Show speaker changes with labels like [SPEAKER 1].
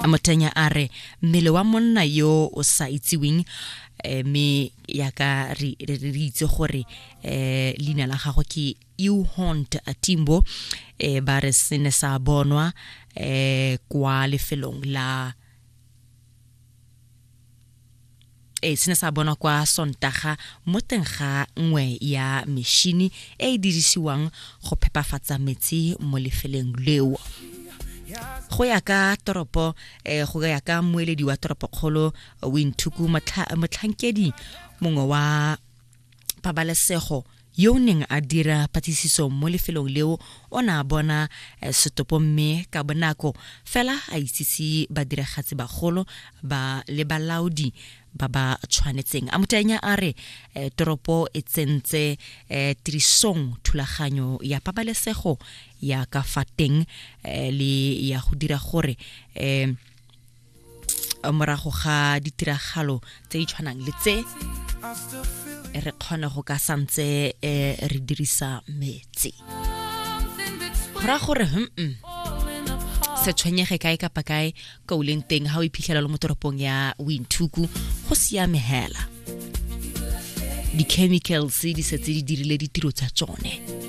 [SPEAKER 1] Motenya a re mmele wa monna yo o sa itseweng eh, mme yaka re itse gore eh, leina la gagwe ke Euhont Timbo eh, ba re se ne sa bonwa eh, kwa lefelong la e se ne sa bonwa kwa Sontaga mo teng ga nngwe ya mešhini e e dirisiwang go phepafatsa metsi mo lefeleng leo. Go ya ka toropo eh, go ya ka mmueledi wa toropokgolo Windhoek, motlhankedi mongwe wa pabalesego yo o neng a dira patlisiso mo lefelong leo o ne a bona eh, setopo mme ka bonako fela a itsise badiragatsi bagolo ba le balaodi ba ba tshwanetseng. A Motanya a re eh, toropo e tsentse eh, tirisong thulaganyo ya pabalesego ya ka fa teng le ya go dira gore morago ga ditiragalo tse di tshwanang le tse re kgone go ka santse eh, re dirisa metsi. Go raya gore se tshwenyege kae kapa kae ka o leng teng. Ga o iphitlhela le mo toropong ya Windhoek, go siame hela, di-chemicals di setse di dirile ditiro tsa tsone.